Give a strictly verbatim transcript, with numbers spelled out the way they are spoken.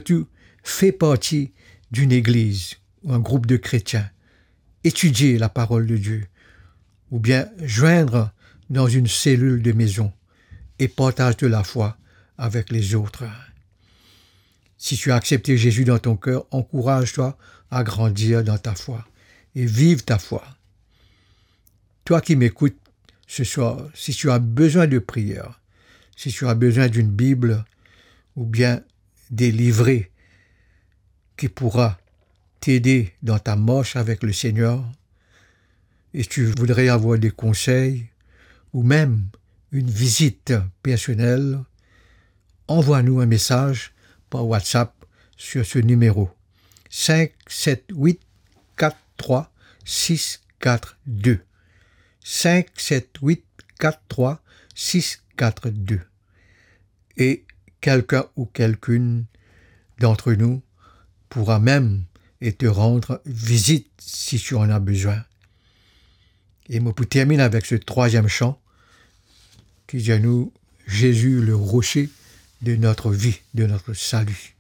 tu fais partie d'une église ou un groupe de chrétiens, étudier la parole de Dieu, ou bien joindre dans une cellule de maison et partage de la foi avec les autres. Si tu as accepté Jésus dans ton cœur, encourage-toi à grandir dans ta foi et vive ta foi. Toi qui m'écoutes ce soir, si tu as besoin de prière, si tu as besoin d'une Bible ou bien des livrets qui pourra t'aider dans ta marche avec le Seigneur, et tu voudrais avoir des conseils ou même une visite personnelle, envoie-nous un message par WhatsApp sur ce numéro, cinq sept huit quatre trois six quatre deux. Cinq sept huit quatre trois six quatre deux. Et quelqu'un ou quelqu'une d'entre nous pourra même et te rendre visite si tu en as besoin. Et moi, pour terminer avec ce troisième chant, qui dit à nous, Jésus, le rocher de notre vie, de notre salut.